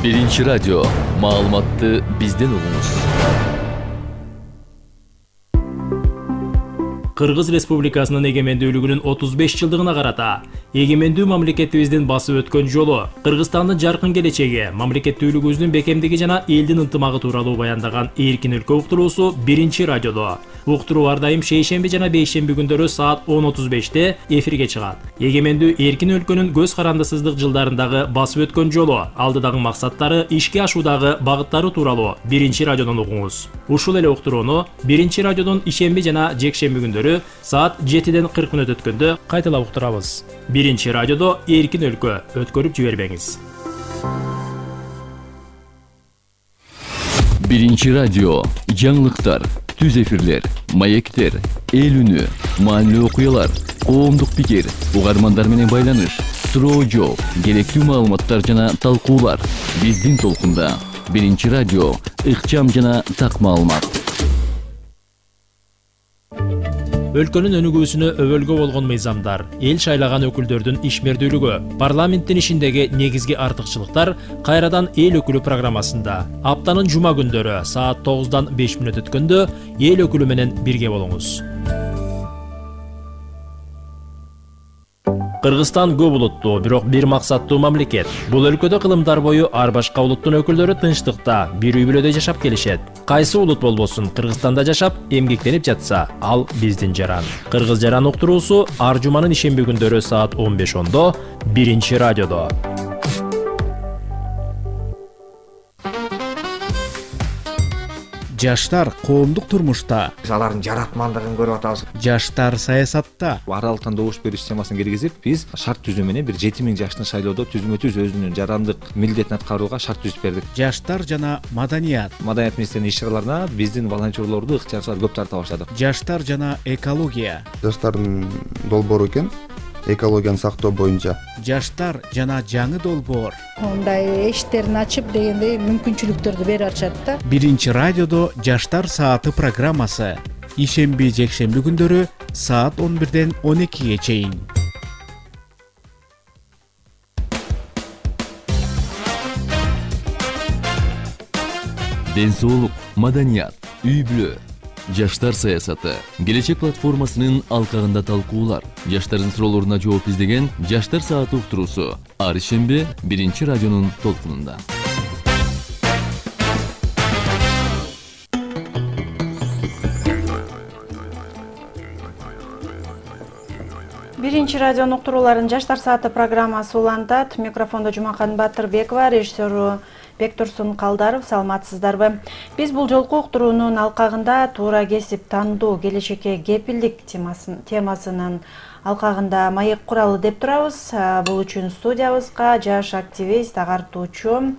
Биринчи радио. Маалыматты бизден угуңуз. Кыргыз Республикасынын эгемендүүлүгүнүн 35 жылдыгына карата эгемендүү мамлекетибиздин басып өткөн жолу, Кыргызстандын жаркын келечеги, мамлекеттүүлүгүбүздүн бекемдиги жана элдин ынтымагы тууралуу баяндаган Эркин өлкө уктуруусу биринчи радиодо. Уктуруу ар дайым шейшемби жана бейшемби күндөрү саат 10:35 эфирге чыгат. Эгемендүү эркин өлкөнүн көз карандысыздык жылдарындагы басып өткөн жолу, алдыдагы максаттары, ишке ашуудагы багыттары тууралуу биринчи радиодон угуңуз. Ушул эле уктурууну биринчи радиодон ишемби жана жекшемби күндөрү саат 7-ден 40 мүнөт өткөндө кайталап уктурабыз. Биринчи радиодо Эркин өлкө, өткөрүп жибербеңиз. Биринчи радио. Жаңылыктар, түз эфирлер, маектер, эл үнү, маанилүү окуялар, коомдук пикир, угармандар менен байланыш, суроо жооп, керектүү маалыматтар жана талкуулар. Биздин толкунда. Биринчи радио. Ыкчам жана так маалымат. Өлкөнүн өнүгүүсүнө өбөлгө болгон мыйзамдар, эл шайлаган өкүлдөрдүн ишмердүүлүгү, парламенттин ишиндеги негизги артыкчылыктар кайрадан эл өкүлү программасында. Аптанын жума күндөрү саат 9-дан 5 мүнөт өткөндө эл өкүлү менен бирге болуңуз. Кыргызстан көп улуттуу, бирок бир максаттуу мамлекет. Бул өлкөдө кылымдар бою ар башка улуттун өкүлдөрү тынчтыкта, бир үй бүлөдө жашап келишет. Кайсы улут болбосун, Кыргызстанда жашап, эмгектенип жатса, ал биздин жаран. Кыргыз жаран уктуруусу ар жуманын ишемби күндөрү саат 15:10 биринчи радиодо. Жаштар коомдук турмушта, алардын жаратмандыгын көрүп атабыз. жаштар саясатта, Аралыктан добуш берүү системасын киргизип, биз шарт түзүү менен бир 7000 жаштын шайлоодо түзмө-түз өзүнүн жарандык милдетин аткарууга шарт түзүп бердик. жаштар жана маданият, Маданият министринин иш-чараларына биздин волонтерлорду ыктыярчылар көп тарта баштадык. жаштар жана экология, Жаштардын долбоору экен, экологияны сактоо боюнча. жаштар жана жаңы долбоор. Мындай эшиктерин ачып дегендей мүмкүнчүлүктөрдү берип атышат да. Биринчи радиодо жаштар сааты программасы. Ишемби, жекшемби күндөрү саат 11-ден 12-ге чейин. Ден соолук, маданият, үй бүлө, жаштар саясаты, келечек платформасынын алкагында талкуулар, жаштардын суроолоруна жооп издеген жаштар сааты уктуруусу ар ишемби биринчи радионун толкунунда. Биринчи радионун уктурууларын жаштар сааты программасы улантат. Микрофондо Жумакан Батырбекова, режиссеру Бектурсун Калдаров. Саламатсыздарбы? Биз бул жолку уктуруунун алкагында туура кесип тандоо, келечекке кепилдик темасынын алкагында маек куралы деп турабыз. Бул үчүн студиябызга жаш активист, агартуучу,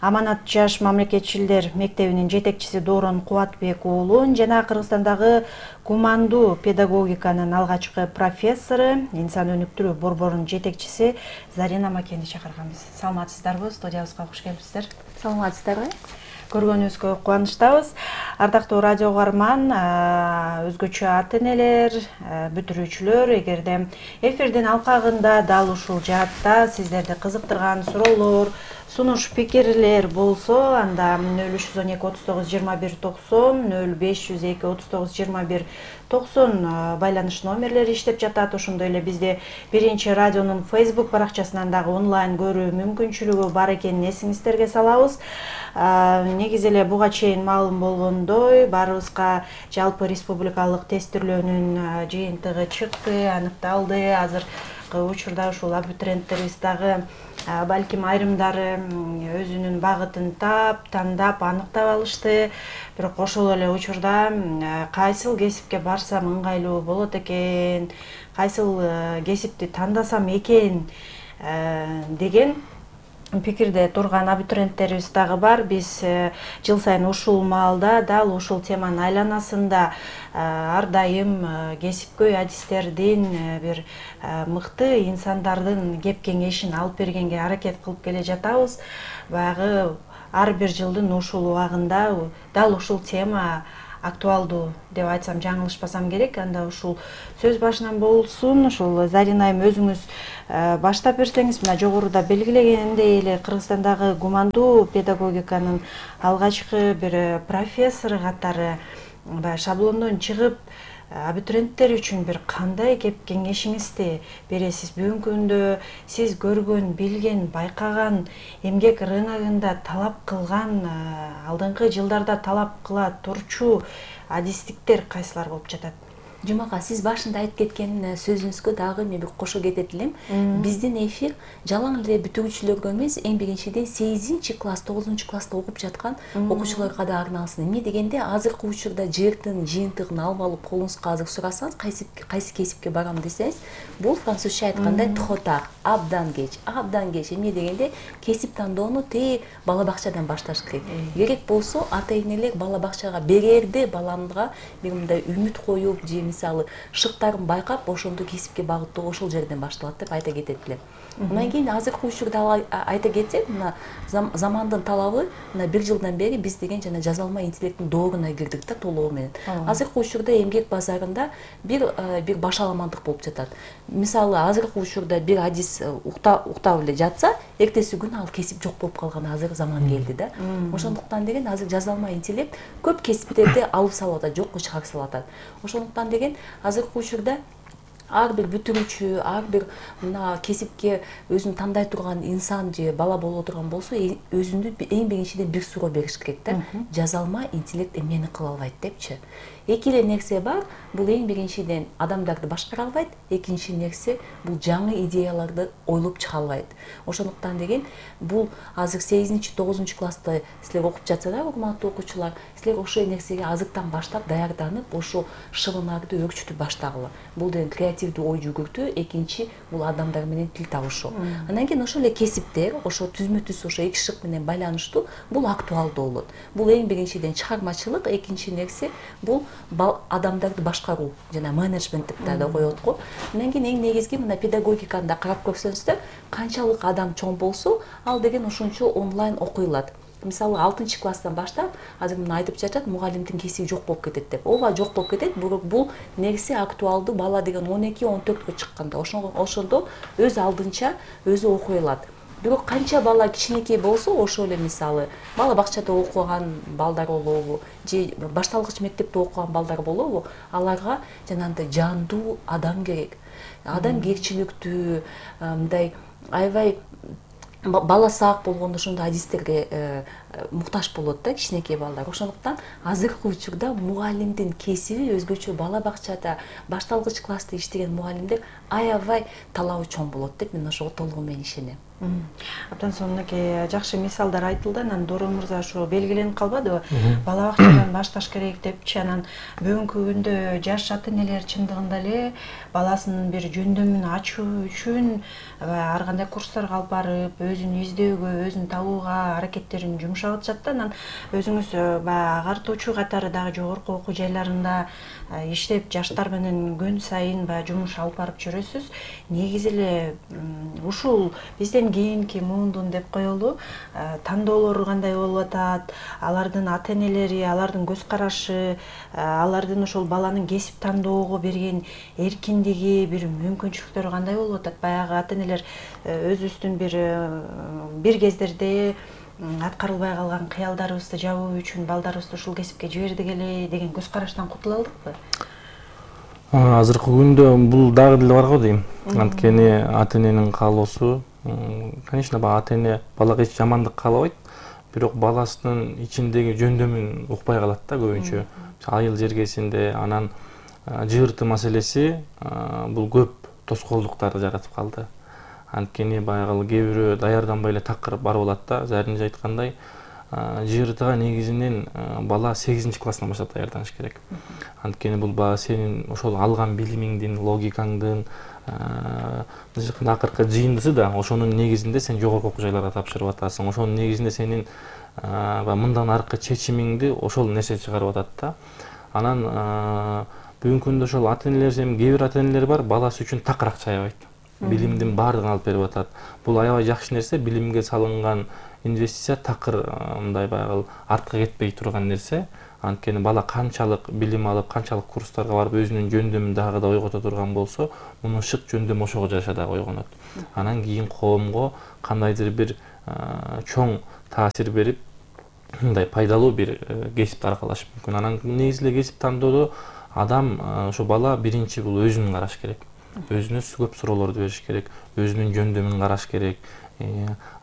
Аманат жаш мамлекетчилдер мектебинин жетекчиси Доорон Кубатбек уулун жана Кыргызстандагы гумандуу педагогиканын алгачкы профессору, инсан өнүктүрүү борборунун жетекчиси Зарина Макенди чакырганбыз. Саламатсыздарбы? Студиябызга кош келипсиздер. Саламатсыздарбы? Көргөнүбүзгө кубанычтабыз. Ардактуу радио угарман, өзгөчө ата-энелер, бүтүрүүчүлөр, эгерде эфирдин алкагында дал ушул жаатта сиздерди кызыктырган суроолор, сунуш пикирлер болсо, анда 0312 39 21 90, 0502 39 21 90 байланыш номерлери иштеп жатат. Ошондой эле бизде биринчи радионун Facebook баракчасынан дагы онлайн көрүү мүмкүнчүлүгү бар экенин эсиңиздерге салабыз. Негизи эле буга чейин маалым болгондой, баарыбызга жалпы республикалык тестирлөөнүн жыйынтыгы чыкты, аныкталды. Азыркы учурда ушул абитуриенттерибиз дагы балким айрымдары өзүнүн багытын тандап, аныктап алышты. Бирок ошол эле учурда кайсыл кесипке барсам ыңгайлуу болот экен, кайсыл кесипти тандасам экен деген пикирде турган абитуриенттерибиз дагы бар. Биз жыл сайын ушул маалда дал ушул теманын айланасында ар дайым кесипкөй адистердин, бир мыкты инсандардын кеп кеңешин алып бергенге аракет кылып келе жатабыз. Баягы ар бир жылдын ушул убагында дал ушул тема актуалдуу деп айтсам жаңылышпасам керек. Анда ушул сөз башынан болсун, ушул Зарина айым өзүңүз баштап берсеңиз, мына жогоруда белгилегендей эле Кыргызстандагы гумандуу педагогиканын алгачкы бир профессору катары баягы шаблондон чыгып абитуриенттер үчүн бир кандай кеп кеңешиңизди бересиз? Бүгүнкү күндө сиз көргөн, билген, байкаган, эмгек рыногунда талап кылган, алдыңкы жылдарда талап кыла турчу адистиктер кайсылар болуп жатат? Жумака, сиз башында айтып кеткен сөзүңүзгө дагы мен бир кошо кетет элем. Биздин эфир жалаң эле бүтүрүүчүлөргө эмес, эң биринчиден 8-класс, 9-класста окуп жаткан окуучуларга да арналсын. Эмне дегенде, азыркы учурда жыйыртын, жыйынтыгын алып алып колуңузга азыр сурасаңыз, кайсы кесипке барам десеңиз, бул французча айткандай тхотар, абдан кеч. Эмне дегенде, кесип тандоону бала бакчадан башташ керек. Керек болсо, ата-энелер бала бакчага берерде баланга бир мындай үмүт коюп, же мисалы шыктарын байкап, ошондо кесипке багыттоо ошол жерден башталат деп айта кетет элем. Андан кийин азыркы учурда айта кетсек, мына замандын талабы, мына 1 жылдан бери биз деген жана жаза алмай интеллекттин дооруна кирдик да толугу менен. Азыркы учурда эмгек базарында бир башаламандык болуп жатат. Мисалы азыркы учурда бир адис уктап эле жатса, эртеси күнү ал кесип жок болуп калган азыр заман келди да. Ошондуктан деген азыр жаза алмай интеллект көп кесиптерди алып салып атат, жокко чыгарып салып атат. Ошондуктан деген азыркы учурда ар бир бүтүрүүчү, ар бир мына кесипке өзүн тандай турган инсан же бала боло турган болсо, өзүндү эң биринчиден бир суроо бериш керек да. Жаза алмай интеллект эмнени кыла албайт депчи. Эки эле нерсе бар. Бул эң биринчиден адамдарды башкара албайт, экинчи нерсе бул жаңы идеяларды ойлоп чыга албайт. Ошондуктан деген бул азыр 8-9 класста силер окуп жатсаңар, урматтуу окуучулар, силер ошол нерсеге азыртан баштап даярданып, ошо шыбынарды өрчүтүп баштагыла. Бул деген креативдүү ой жүгүртүү, экинчи бул адамдар менен тил табышуу. Андан кийин ошол эле кесиптер, ошо түзмө-түз ошо эки шык менен байланыштуу, бул актуалдуу болот. Бул эң биринчиден чыгармачылык, экинчи нерсе бул адамдарды башкаруу жана менеджмент деп да коет го. Андан кийин эң негизги мына педагогиканы да карап көрсөңүздөр, канчалык адам чоң болсо, ал деген ошончо онлайн окуйлат. Мисалы 6-класстан баштап, азыр мына айтып жатат, мугалимдин кесиби жок болуп кетет деп. Ооба жок болуп кетет, бирок бул нерсе актуалдуу. Бала деген 12-14кө чыкканда ошондо өз алдынча өзү окуй алат. Бирок канча бала кичинекей болсо, ошол эле мисалы бала бакчада окуган балдар болобу, же башталгыч мектепте окуган балдар болобу, аларга жанагындай жандуу адам керек. Адамгерчиликтүү, мындай аябай бала саак болгондо ошондой адистерге муктаж болот да кичинекей балдар. Ошондуктан азыркы учурда мугалимдин кесиби өзгөчө, бала бакчада башталгыч класста иштеген мугалимдер аябай талабы чоң болот деп мен ошого толугу менен ишенем. Абдан сонунакей жакшы мисалдар айтылды. Анан Дорон мырза ошо белгиленип калбадыбы? Бала бакчадан башташ керек депчи. Анан бүгүнкү күндө жаш ата-энелер чындыгында эле баласынын бир жөндөмүн ачуу үчүн ар кандай курстарга алып барып, өзүн издөөгө, өзүн табууга аракеттерин жумшап атышат да. Анан өзүңүз баягы агартуучу катары дагы жогорку окуу жайларында иштеп, жаштар менен күн сайын баягы жумуш алып барып жүрөсүз. Негизи эле ушул бизден кийинки муундун деп коелу, тандоолору кандай болуп атат, алардын ата-энелери, алардын көз карашы, алардын ошол баланын кесип тандоого берген эркиндиги, бир мүмкүнчүлүктөрү кандай болуп атат? Баягы ата-энелер өзүбүздүн бир кездерде аткарылбай калган кыялдарыбызды жабуу үчүн балдарыбызды ушул кесипке жибердик эле деген көз караштан кутула алдыкпы? Азыркы күндө бул дагы деле бар го дейм. Анткени ата-эненин каалоосу, конечно, ата-эне балага эч жамандык каалабайт, бирок баласынын ичиндеги жөндөмүн укпай калат да көбүнчө. Айыл жергесинде анан жыйыртуу маселеси бул көп тоскоолдуктарды жаратып калды. Анткени баягы кээ бирөө даярданбай эле такыр барып алат да. Заринже айткандай, жыйыртыга негизинен бала 8-класстан баштап даярданыш керек. Анткени бул баягы сенин ошол алган билимиңдин, логикаңдын акыркы жыйындысы да, ошонун негизинде сен жогорку окуу жайларга тапшырып атасың. Ошонун негизинде сенин мындан аркы чечимиңди ошол нерсе чыгарып атат да. Анан бүгүнкү күндө ошол ата-энелер, кээ бир ата-энелер бар, баласы үчүн такыр акча аябайт. Билимдин баардыгын алып берип атат. Бул аябай жакшы нерсе, билимге салынган инвестиция такыр мындай баягы артка кетпей турган нерсе. Анткени бала канчалык билим алып, канчалык курстарга барып өзүнүн жөндөмүн дагы да ойгото турган болсо, мунун шык жөндөмү ошого жараша дагы ойгонот. Анан кийин коомго кандайдыр бир чоң таасир берип, мындай пайдалуу бир кесипти аркалашы мүмкүн. Анан негизи эле кесип тандоодо адам, ошо бала биринчи бул өзүн караш керек. Өзүнө көп суроолорду бериш керек, өзүнүн жөндөмүн караш керек.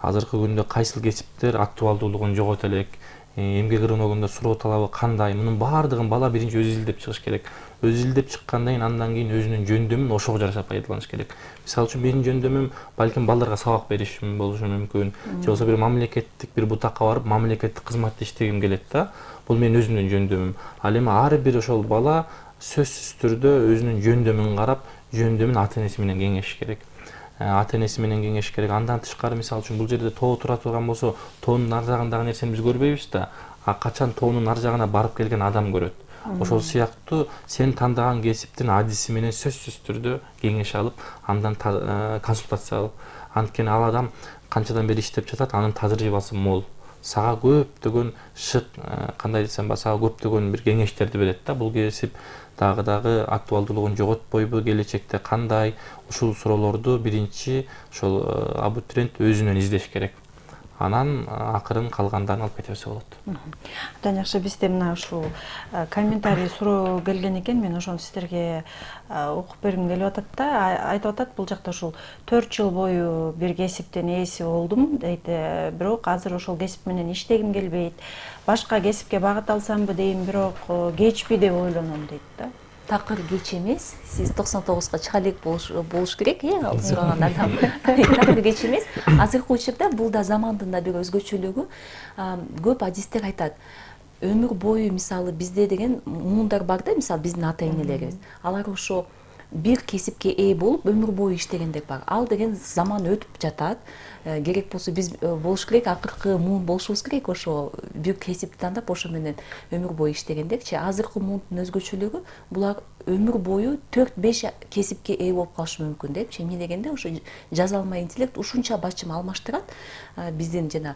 Азыркы күндө кайсыл кесиптер актуалдуулугун жогото элек, эмгек рыногунда суроо талабы кандай, мунун баардыгын бала биринчи өзү изилдеп чыгыш керек. Өзү изилдеп чыккандан кийин андан кийин өзүнүн жөндөмүн ошого жараша пайдаланыш керек. Мисалы үчүн менин жөндөмүм балким балдарга сабак беришим болушу мүмкүн, же болбосо бир мамлекеттик бир бутакка барып мамлекеттик кызматты иштегим келет да. Бул менин өзүмдүн жөндөмүм. Ал эми ар бир ошол бала сөзсүз түрдө өзүнүн жөндөмүн карап, жөндөмүн ата-энеси менен кеңешиш керек. Ата-энеси менен кеңешиш керек. Андан тышкары мисалы үчүн бул жерде тоо тура турган болсо, тоонун ар жагындагы нерсени биз көрбөйбүз да. Качан тоонун ар жагына барып келген адам көрөт. Ошол сыяктуу сен тандаган кесиптин адиси менен сөзсүз түрдө кеңеш алып, андан консультация алып, анткени ал адам канчадан бери иштеп жатат, анын тажрыйбасы мол. Сага көптөгөн шык, кандай десем, сага көптөгөн бир кеңештерди берет да. Бул кесип дагы актуалдуулугун жоготпойбу, келечекте кандай, ушул суроолорду биринчи ошол абитуриент өзүнөн издеш керек. Анан акырын калгандарын алып кете берсе болот. Абдан жакшы. Бизде мына ушул комментарий суроо келген экен. Мен ошону сиздерге окуп бергим келип атат да. Айтып атат бул жакта ушул 4 жыл бою бир кесиптин ээси болдум дейт. Бирок азыр ошол кесип менен иштегим келбейт. Башка кесипке багыт алсамбы дейм, бирок кечпи деп ойлоном дейт да. Такыр кеч эмес. Сиз 99га чыга элек болуш керек, ал сураган адам. Такыр кеч эмес. Азыркы учурда бул да замандын да бир өзгөчөлүгү. Көп адистер айтат. Өмүр бою мисалы бизде деген муундар бар да, мисалы биздин ата-энелерибиз. Алар ошо бир кесипке ээ болуп өмүр бою иштегендер бар. Ал деген заман өтүп жатат. Керек болсо биз болуш керек, акыркы муун болушубуз керек, ошо бир кесипти тандап ошо менен өмүр бою иштегендерчи. Азыркы муундун өзгөчөлүгү булар өмүр бою 4-5 кесипке ээ болуп калышы мүмкүн депчи. Эмне дегенде ошо жазалма интеллект ушунча бачым алмаштырат биздин жана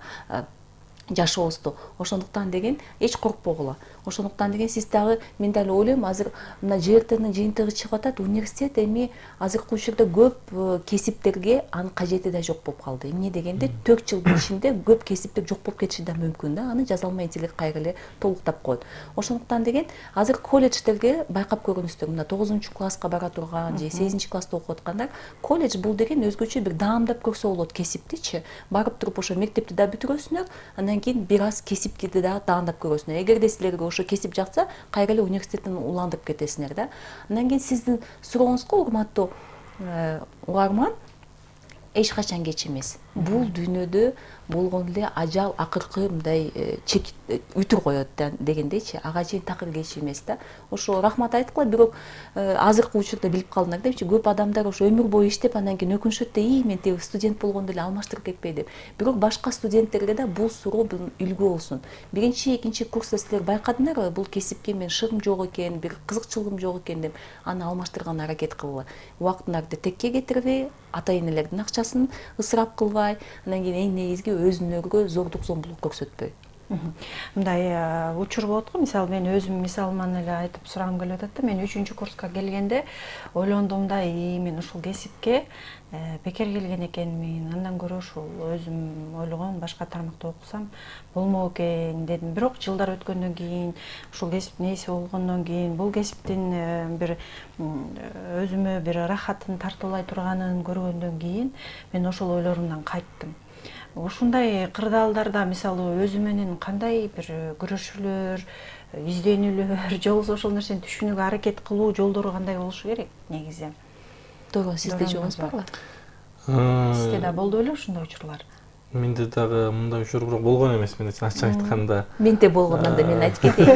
жашообузду. Ошондуктан деген эч коркпогула. Ошондуктан деген сиз дагы мен дагы ойлойм, азыр мына ЖРТнын жыйынтыгы чыгып атат, университет эми азыркы учурда көп кесиптерге анын кажети да жок болуп калды. Эмне дегенде 4 жылдын ичинде көп кесиптер жок болуп кетиши да мүмкүн да. Аны жазалма интеллект кайра эле толуктап коет. Ошондуктан деген азыр колледждерге байкап көрүңүздөр, мына 9-класска бара турган же 8-класста окуп аткандар, колледж бул деген өзгөчө бир даамдап көрсө болот кесиптичи. Барып туруп ошо мектепти да бүтүрөсүңөр, андан кийин бир аз кесипти да даамдап көрөсүңөр. Эгерде силерге ошо кесип жакса, кайра эле университеттен уландырып кетесиңер да. Андан кийин сиздин сурооңузга, урматтуу угарман, эч качан кеч эмес. Бул дүйнөдө болгон эле ажал акыркы мындай чек үтүр коет дегендейчи, ага чейин такыр кеч эмес да. Ошо рахмат айткыла, бирок азыркы учурда билип калдыңар депчи, көп адамдар ошо өмүр бою иштеп, андан кийин өкүнүшөт да, мен тиги студент болгондо эле алмаштырып кетпей деп. Бирок башка студенттерге да бул суроо үлгү болсун. Биринчи, экинчи курста силер байкадыңарбы, бул кесипке мен шыгым жок экен, бир кызыкчылыгым жок экен деп, аны алмаштырган аракет кылгыла. Убактыңарды текке кетирбей, ата-энелердин акчасын ысырап кылбай, андан кийин эң негизги өзүңөргө зордук зомбулук көрсөтпөй. Мындай учур болот го, мисалы мен өзүм мисалыман эле айтып сурагым келип атат да. Мен 3-курска келгенде ойлондум да, мен ушул кесипке бекер келген экенмин, андан көрө ушул өзүм ойлогон башка тармакта окусам болмок экен дедим. Бирок жылдар өткөндөн кийин, ушул кесиптин ээси болгондон кийин, бул кесиптин бир өзүмө бир рахатын тартуулай турганын көргөндөн кийин мен ошол ойлорумдан кайттым. Ушундай кырдаалдарда мисалы өзү менен кандай бир күрөшүүлөр, изденүүлөр, же болбосо ошол нерсени түшүнүүгө аракет кылуу жолдору кандай болушу керек негизи? Туура, сизде жоңуз барбы? Сизде да болду беле ушундай учурлар? Менде дагы мындай учур бирок болгон эмес, мен ачык айтканда. Менде болгондон да мен айтып кетейин.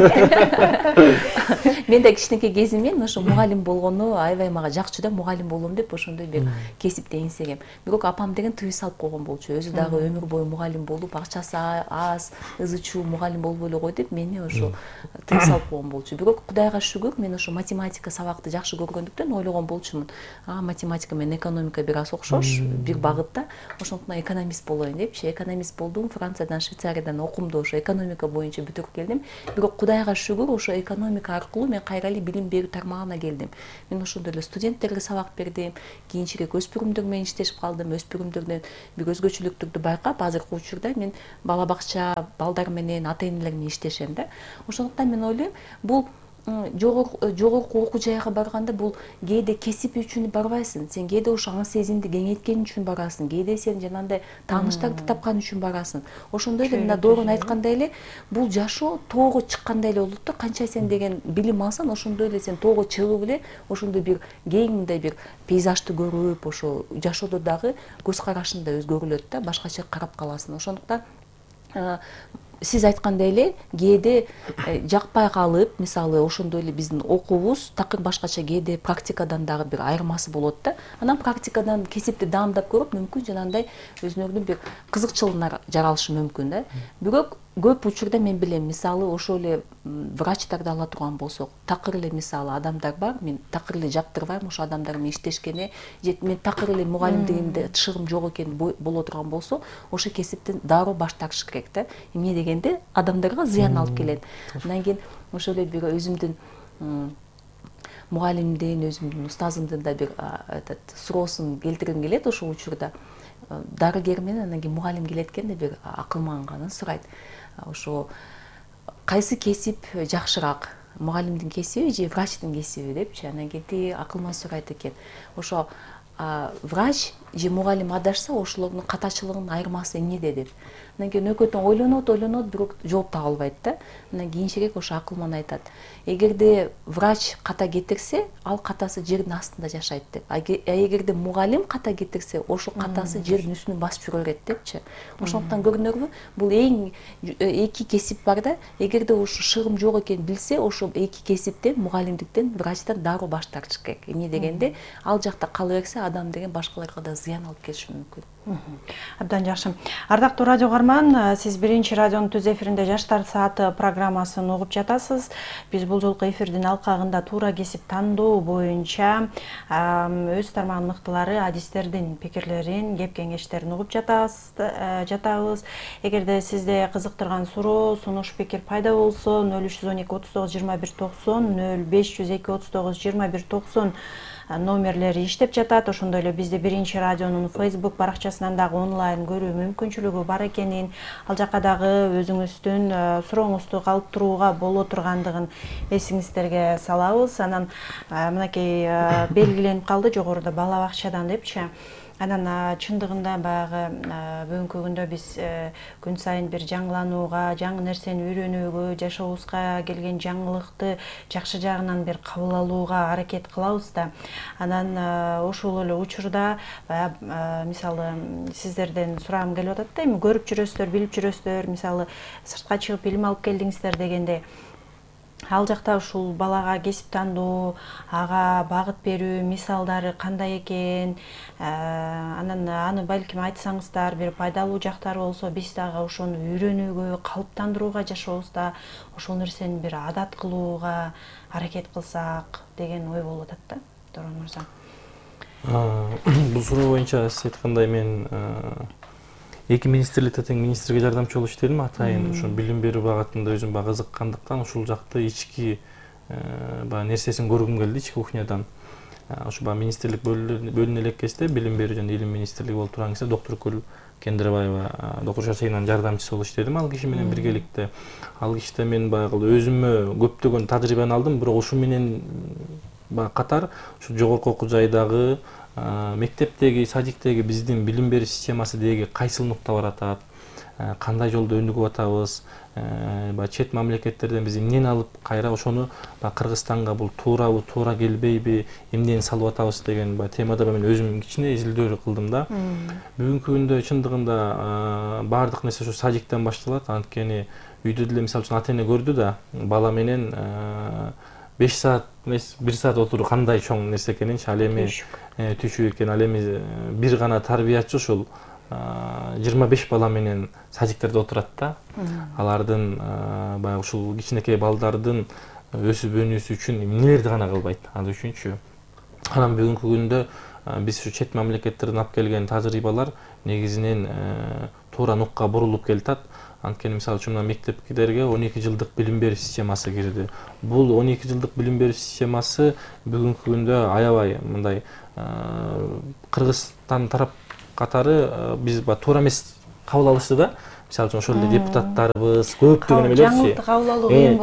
Мен да кичинекей кезимден ошо мугалим болгону аябай мага жакчу да, мугалим болом деп ошондой бир кесипти эңсегем. Бирок апам деген тыюу салып койгон болчу. Өзү дагы өмүр бою мугалим болуп, акчасы аз, ызы-чуу мугалим болбой эле кой деп мени ошо тыюу салып койгон болчу. Бирок Кудайга шүгүр, мен ошо математика сабакты жакшы көргөндүктөн ойлогон болчумун. Математика менен экономика бир аз окшош, бир багытта. Ошондуктан экономист болоюн депчи. Экономист болдум. Франциядан, Швейцариядан окумду ошо экономика боюнча бүтүрүп келдим. Бирок Кудайга шүгүр, ошо экономика аркылуу мен кайра эле билим берүү тармагына келдим. Мен ошондой эле студенттерге сабак бердим. Кийинчерээк өспүрүмдөр менен иштешип калдым. Өспүрүмдөрдөн бир өзгөчөлүктөрдү байкап, азыркы учурда мен бала бакча балдар менен, ата-энелер менен иштешем да. Ошондуктан мен ойлойм, бул жогорку окуу жайга барганда бул кээде кесип үчүн барбайсың. Сен кээде ошо аң сезимди кеңейткен үчүн барасың. Кээде сен жанагындай тааныштарды тапкан үчүн барасың. Ошондой эле мына Доорун айткандай эле бул жашоо тоого чыккандай эле болот да. Канча сен деген билим алсаң, ошондой эле сен тоого чыгып эле ошондой бир кең мындай бир пейзажды көрүп, ошо жашоодо дагы көз карашың да өзгөрүлөт да, башкача карап каласың. Ошондуктан сиз айткандай эле кээде жакпай калып, мисалы ошондой эле биздин окуубуз такыр башкача, кээде практикадан дагы бир айырмасы болот да. Анан практикадан кесипти даамдап көрүп, мүмкүн жанагындай өзүңөрдүн бир кызыкчылыгыңар жаралышы мүмкүн да. Бирок көп учурда мен билем, мисалы ошол эле врачтарды ала турган болсок, такыр эле мисалы адамдар бар, мен такыр эле жактырбайм ошо адамдар менен иштешкене, же мен такыр эле мугалимдигимде тышыгым жок экен боло турган болсо, ошо кесиптен дароо баш тартыш керек да. Эмне дегенде адамдарга зыян алып келет. Андан кийин ошол эле бир өзүмдүн мугалимдин, өзүмдүн устазымдын да бир суроосун келтиргим келет ошол учурда. Дарыгер менен анан кийин мугалим келет экен да бир акыл манганын сурайт. Ошо кайсы кесип жакшыраак, мугалимдин кесиби же врачтын кесиби депчи. Анан кийин тиги акылман сурайт экен. Ошо врач же мугалим адашса, ошолордун катачылыгынын айырмасы эмнеде деп. Анан кийин экөөтөн ойлонот, бирок жооп таба албайт да. Анан кийинчерээк ошо акылман айтат. Эгерде врач ката кетирсе, ал катасы жердин астында жашайт деп. Эгерде мугалим ката кетирсе, ошол катасы жердин үстүнө басып жүрө берет депчи. Ошондуктан көрдүңөрбү, бул эң эки кесип бар да. Эгерде ошо шыгым жок экенин билсе, ошо эки кесиптен, мугалимдиктен, врачтан дароо баш тартыш керек. Эмне дегенде, ал жакта кала берсе, адам деген башкаларга да зыян алып келиши мүмкүн. Абдан жакшы. Ардактуу радио угарман, сиз биринчи радионун түз эфиринде Жаштар сааты программасын угуп жатасыз. Биз бул жолку эфирдин алкагында туура кесип тандоо боюнча өз тармагынын мыктылары, адистердин пикирлерин, кеп кеңештерин угуп жатабыз. Эгерде сизде кызыктырган суроо, сунуш, пикир пайда болсо 0312 39 21 90, 0502 39 21 90 номерлери иштеп жатат. Ошондой эле бизде биринчи радионун Facebook баракчасынан дагы онлайн көрүү мүмкүнчүлүгү бар экенин, ал жака дагы өзүңүздүн сурооңузду калтырууга боло тургандыгын эсиңиздерге салабыз. Анан мынакей белгиленип калды жогоруда бала бакчадан депчи. Анан чындыгында баягы бүгүнкү күндө биз күн сайын бир жаңыланууга, жаңы нерсени үйрөнүүгө, жашообузга келген жаңылыкты жакшы жагынан бир кабыл алууга аракет кылабыз да. Анан ошол эле учурда мисалы сиздерден сурагым келип атат да, эми көрүп жүрөсүздөр, билип жүрөсүздөр, мисалы сыртка чыгып билим алып келдиңиздер дегенде, ал жакта ушул балага кесип тандоо, ага багыт берүү мисалдары кандай экен, анан аны балким айтсаңыздар, бир пайдалуу жактары болсо, биз дагы ошону үйрөнүүгө, калыптандырууга жашообузда ошол нерсени бир адат кылууга аракет кылсак деген ой болуп атат да, Дорон мырза. Бул суроо боюнча сиз айткандай мен эки министрликте тең министрге жардамчы болуп иштедим. Атайын ошо билим берүү багытында өзүм бага кызыккандыктан ушул жакты ички нерсесин көргүм келди, ички кухнядан. Ошо министрлик бөлүнө элек кезде билим берүү жана илим министрлиги болуп турган кезде доктор Кендирбаева, доктор Шашейнанын жардамчысы болуп иштедим. Ал киши менен биргеликте. Ал кишите мен баягы өзүмө көптөгөн тажрыйбаны алдым, бирок ушу менен катар ушу жогорку окуу жайдагы мектептеги, садиктеги биздин билим берүү системасы деги кайсыл нукта баратат, кандай жолдо өнүгүп атабыз, чет мамлекеттерден биз эмнени алып кайра ошону Кыргызстанга бул туурабы, туура келбейби, эмнени салып атабыз деген темада мен өзүм кичине изилдөө кылдым да. Бүгүнкү күндө чындыгында баардык нерсе ушу садиктен башталат. Анткени үйдө деле мисалы үчүн ата-эне көрдү да, бала менен 5 саат эмес 1 саат отуруу кандай чоң нерсе экенинчи, ал эми түйшүк экен, ал эми бир гана тарбиячы ушул 25 бала менен садиктерде отурат да. Алардын баягы ушул кичинекей балдардын өсүп өнүүсү үчүн эмнелерди гана кылбайт ал үчүнчү. Анан бүгүнкү күндө биз ушу чет мамлекеттерден алып келген тажрыйбалар негизинен туура нукка бурулуп келатат. Анткени мисалы үчүн мына мектептерге 12 жылдык билим берүү системасы кирди. Бул 12 жылдык билим берүү системасы бүгүнкү күндө аябай мындай Кыргызстан тарап катары биз туура эмес кабыл алышты да. Мисалы үчүн ошол эле депутаттарыбыз көптөгөн эмелерчи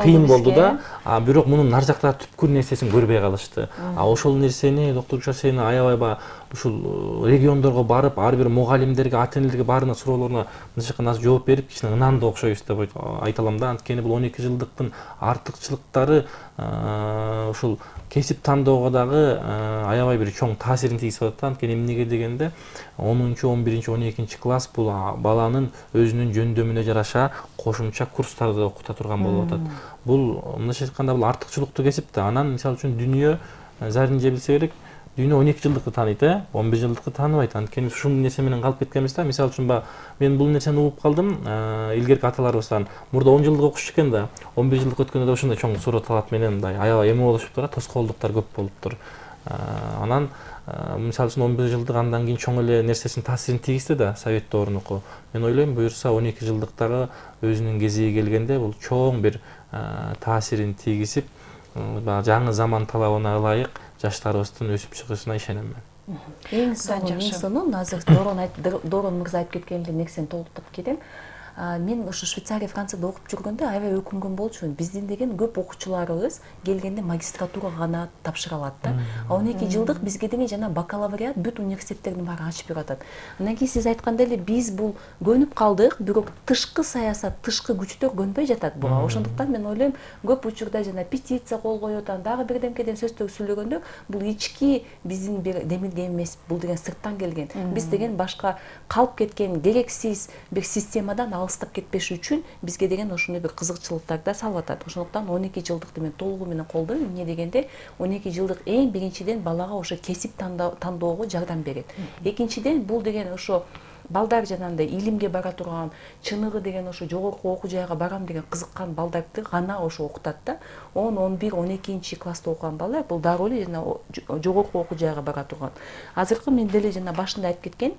кыйын болду да. Бирок мунун нар жакта түпкүр нерсесин көрбөй калышты. Ошол нерсени доктор Гүлшара аябай ушул региондорго барып, ар бир мугалимдерге, ата-энелерге баарына суроолоруна нычыкканасы жооп берип, кичине ынандуу окшойбуз деп айта алам да. Анткени бул 12 жылдыктын артыкчылыктары ушул кесип тандоого дагы аябай бир чоң таасирин тийгизип атат. Анткени эмнеге дегенде 10-чу, 11-чи, 12-чи класс бул баланын өзүнүн жөндөмүнө жараша кошумча курстарды окута турган болуп атат. Бул мындайча айтканда бул артыкчылыктуу кесип да. Анан мисалы үчүн дүйнө зарин же билсе керек, дүйнө 12 жылдыкты тааныйт, 11 жылдыкты тааныбайт. Анткени ушул нерсе менен калып кеткенбиз да. Мисалы үчүн мен бул нерсени угуп калдым. Илгерки аталарыбыздан мурда 10 жылдык окушчу экен да, 11 жылдык өткөндө да ошондой чоң суроо талап менен мындай аябай эме болушуптур, тоскоолдуктар көп болуптур. Анан мисалы үчүн 11 жылдык андан кийин чоң эле нерсесин таасирин тийгизди да Совет доорунуку. Мен ойлойм, буюрса 12 жылдыктагы өзүнүн кезиги келгенде бул чоң бир таасирин тийгизип, жаңы заман талабына ылайык жаштарыбыздын өсүп чыгышына ишенем мен. Эң сонун азыр Дорон мырза айтып кеткен эле нерсени толуктап кетем. Мен ошо Швейцария, Францияда окуп жүргөндө аябай өкүнгөн болчумун. Биздин деген көп окуучуларыбыз келгенде магистратурага гана тапшыра алат да. 12 жылдык бизге деген жана бакалавриат бүт университеттердин баары ачып берип атат. Андан кийин сиз айткандай эле биз бул көнүп калдык, бирок тышкы саясат, тышкы күчтөр көнбөй жатат буга. Ошондуктан мен ойлойм, көп учурда жана петиция кол коюп атат, дагы бирдемкеден сөздөр сүйлөгөндө бул ички биздин бир демилге эмес, бул деген сырттан келген. Биз деген башка калып кеткен керексиз бир системадан алыстап кетпеш үчүн бизге деген ошондой бир кызыкчылыктарды салып атат. Ошондуктан 12 жылдыкты мен толугу менен колдойм. Эмне дегенде 12 жылдык эң биринчиден балага ошо кесип тандоого жардам берет. Экинчиден бул деген ошо балдар жанагындай илимге бара турган, чыныгы деген ошо жогорку окуу жайга барам деген кызыккан балдарды гана ошо окутат да. 10, 11, 12 класста окуган балдар бул дароо эле жана жогорку окуу жайга бара турган. Азыркы мен деле жана башында айтып кеткен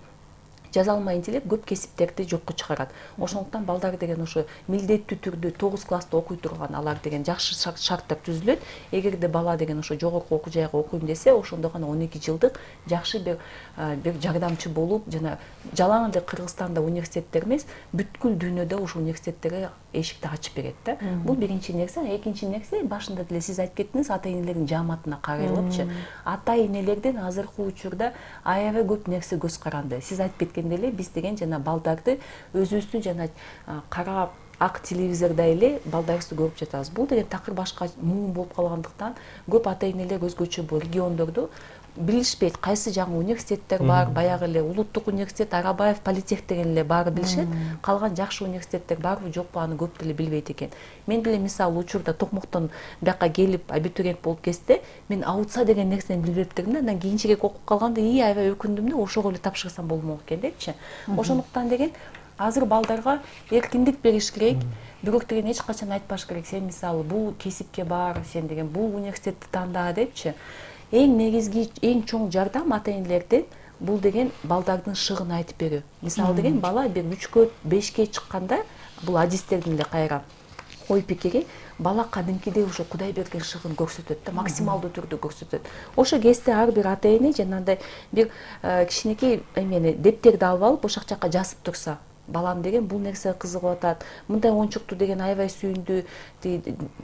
жазалма интеллект көп кесиптерди жокко чыгарат. Ошондуктан балдар деген ошо милдеттүү түрдө 9 класста окуй турган алар деген жакшы шарттар түзүлөт. Эгерде бала деген ошо жогорку окуу жайга окуйм десе, ошондо гана 12 жылдык жакшы бир жардамчы болуп, жана жалаң эле Кыргызстанда университеттер эмес, бүткүл дүйнөдө ошо университеттерге эшикти ачып берет да. Бул биринчи нерсе. Экинчи нерсе, башында деле сиз айтып кеттиңиз, ата-энелердин жааматына карайлыпчы. Ата-энелердин азыркы учурда аябай көп нерсе көз каранды. Сиз айтып кеткен эле биз деген жана балдарды өзүбүздүн жана кара ак телевизордо эле балдарыбызды көрүп жатабыз. Бул деген такыр башка муун болуп калгандыктан көп ата-энелер өзгөчө бул региондорду билишпейт. Кайсы жаңы университеттер бар, баягы эле Улуттук университет, Арабаев, Политех деген эле баары билишет. Калган жакшы университеттер барбы, жокпу аны көп деле билбейт экен. Мен деле мисалы учурда Токмоктон бияка келип абитуриент болуп кетсе, мен аутса деген нерсени билбептермин да. Андан кийинчерээк окуп калганда аябай өкүндүм да, ошого эле тапшырсам болмок экен депчи. Ошондуктан деген азыр балдарга эркиндик бериш керек. Бирок деген эч качан айтпаш керек. Сен мисалы бул кесипке бар, сен деген бул университетти танда депчи. Эң негизги, эң чоң жардам ата-энелерден бул деген балдардын шыгын айтып берүү. Мисалы деген бала бир 3-кө, 5-ке чыкканда, бул адистердин эле кайра ой пикири, бала кадимкидей ошо Кудай берген шыгын көрсөтөт да, максималдуу түрдө көрсөтөт. Ошо кезде ар бир ата-эне жанагындай бир кичинекей эмени дептерди алып алып, ошол жакка жазып турса, балам деген бул нерсе кызыгып атат, мындай оюнчукту деген аябай сүйүндү,